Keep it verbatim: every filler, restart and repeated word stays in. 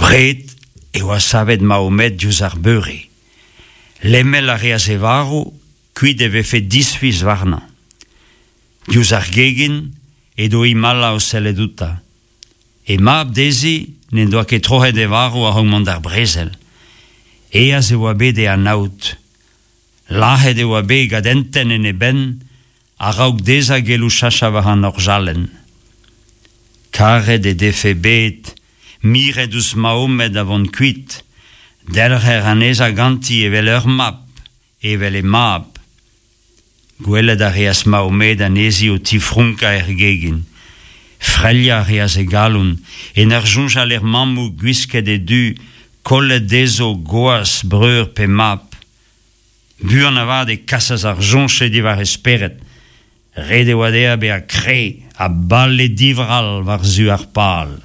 Abred e oa savet Mahomed diouzh ar beure. Lemel a reas e varv, kuit e vefe disfiz warnañ. Diouzh ar gegin edo Himala o sellet outañ. E mab dezhi n'en doa ket troc'het e varv a-raok mont d'ar brezel. Aes e oa bet e anaout. Lazhet e oa bet gant un tenn en e benn a-raok dezhañ gellout sachañ war an orjalenn. Karet he defe bet miret ouzh Mahomed a vont kuit, delc'her anezhañ ganti evel ur mab, evel he mab. Gwelet a reas Mahomed anezhi o tifronkañ er gegin. Freilhañ a reas e galon, en ur soñjal er mammoù gwisket e du, kollet dezho gwaz, breur pe mab. Buan avat e kasas ar soñj-se diwar e spered. Ret e oa dezhañ bezañ kreñv ha bale divrall war-zu ar pal.